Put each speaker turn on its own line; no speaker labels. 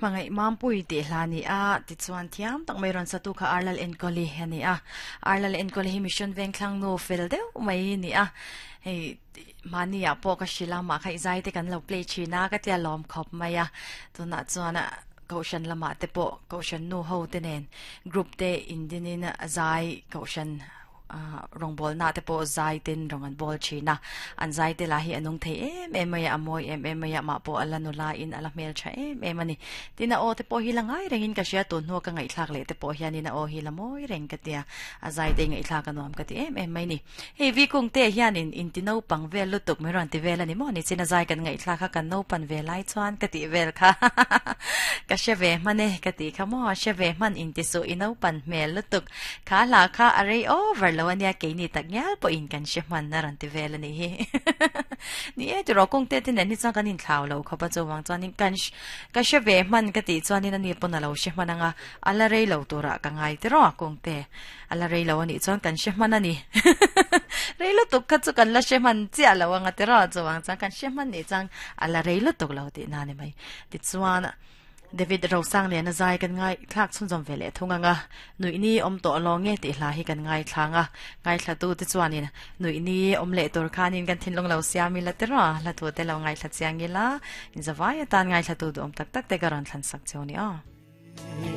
Hmangaih Mampui tih hla a ni a, tichuan thiam tak mai rawn satu kha Arlal Enkawli a ni a. Arlal Enkawli hi Mission Vengthlang nu fel deuh mai a ni a. Hei mahni ah pawh ka hrilh a, mah kha i zai te kan lo play thin a ka tia lawm khawp mai a. Tunah chuan Kohhran lamah te pawh Kohhran nu ho te nen group te indinin zai Kohhran rawngbawlna te pawh zai ten rawng an bawl thin a, an zai te lah hi a nung thei em em mai a, a mawi em em mai a, mah pawh a la nula in a la hmel tha em em a ni. Tin a aw te pawh hi la ngai rengin ka hria, tun hnua ka ngaihthlak leh te pawh hianin a aw hi la mawi reng ka tia, a zai te ngaihthlak a nuam ka ti em em mai ni. Hei vi kung te hianin inti naupang vel lutuk min rawn ti vel a ni maw? Nichin a zai kan ngaihthlak kha kan naupan ve lai chuan ka tih vel kha ka hre ve hman e ka tih kha maw? Hre ve hman inti suh i naupan hmel lutuk. Kha hla kha a rei over lo ania keini tak ngial pawhin kan hre hman a rawn ti vel a nih hi. Ni e tiraw kung te te nen hi chuan kan inthlau lo khawp a chuvang chuanin kan ka hre ve hman ka tih chuanin ani pawn a lo hre hman anga a la rei lo turah ka ngai tiraw kung te a la rei lo anih chuan kan hre hman a ni. Rei lutuk kha chu kan la hre hman chiah lo anga tiraw chuvang chuan kan hre hman nih chuan a la rei lutuk lo tihna a ni mai. Tichuan. David Rosangliana zai kan ngaithlak chhunzawm ve leh thung ang a, Nuihni awm tawh lo nge tih hla hi kan ngaithlang a, ngaithlatu te chuanin Nuihni awm leh tur khanin kan thinlung lo siam ila tiraw a, hla thu te lo ngaithla chiang ila, in zavai atan ngaithlatu duhawm tak tak te ka rawn thlansak cheu ni aw.